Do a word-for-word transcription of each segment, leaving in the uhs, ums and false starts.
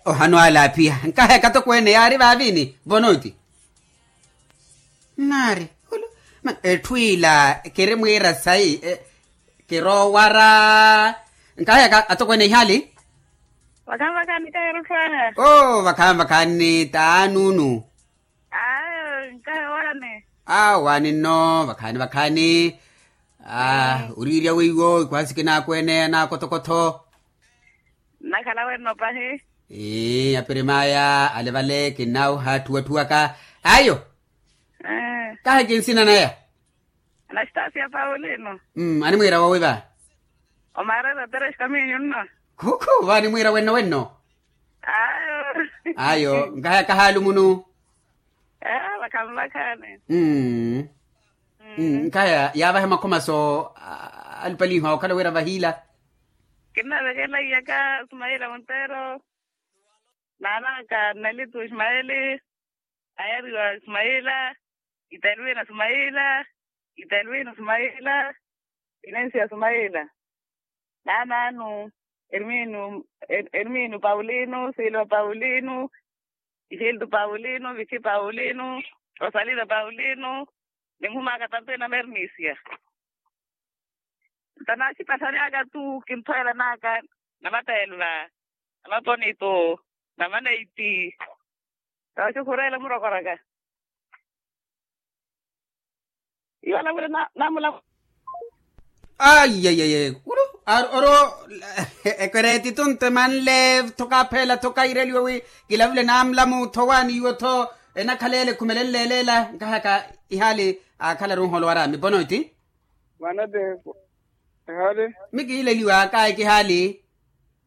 Ohanu alaapiha nkahaya katokweene yaari vaaviini vonoti. Nnaari etthu ila kirimwiira sayi. Kiroowara nkahaya atokweene ihaali. Vakhaani vakhaani kahirutthu aya. Oo vakhaani vakhaani taanunu. Ayo nkahi owaani. Awaani nno vakhaani vakhaani. Oriirya weiwo ikhwaasi kinaakweene anaakotho-kotho. Nnakhala wenno pahi. Ii apirim'aya ale vale kinnaawuha atthuwa-tthuwaka. Ayo. Kahi ki nsina naya. Anastasiya paulino. Animwiira woowi va? Omaarera tres kaminyu nno. Khukhu va animwiira wenno wenno. Ayo. Ayo nkahaya kahaalu munu. Ee vakhaani vakhaani. Nkaya yaavahe makhomaso. Alupaliha okhala wira vahiila. Kinnavekela iyaka sumaila montero. Naanaka nelitu ismaeli. Ayariwa ismaila. Itelwina ismaila. Itelwina ismaila. Inensia ismaila. Naanaanu. Erminu. Erminu paulinu silva paulinu. Isiltu paulinu vici paulinu. Rosalina paulinu. Ninhumaaka tampena mermisia. Nto naaxipasani aka tu kinthoela naka. Namateelva. Namatonito. Namaneiti. Tooxukhurela murokoraka. Iwala vule namula. Aiyaiyaye ulu. Oro. Ekwereeti tunte manle tho kaapheela tho kaireliwe wi kilavule namulamu tho waani iwo tho. Enakhala ele ekhumelenle ele ela nkahaka ihaali. Akhalaru nholowara mipono eti. Mwanateko. Ehali. Mikiileliwa kayi kihaali.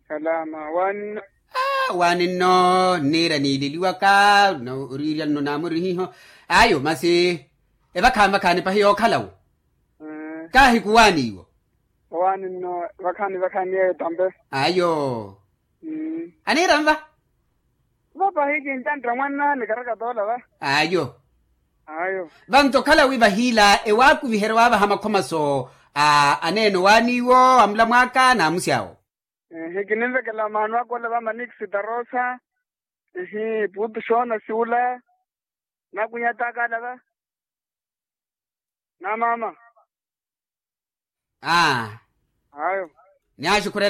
Salama waani nno. Waani nno nniira niileliwaka. Oriirya nno naamurihiho. Ayo masi evakhaani vakhaani pahi yookhalawo. Kahi kuwaani iwo. Owaani nno vakhaani vakhaani yeeyo tampe. Ayo. Aniira nva. Vapahi kincantta mwanna nikarakatoola va. Ayo. Ayo. Vanto okhala wi vahiila ewaakuviherya waavaha makhomaso. Aneene owaani iwo amulamw'aka n'amusi awo. Ehe kininvekela maano aka ole va manix tarosa. Ehe putu xoona siula. Nakunyataka ala va. Na maama. Aa. Ayo. Ni axukhura.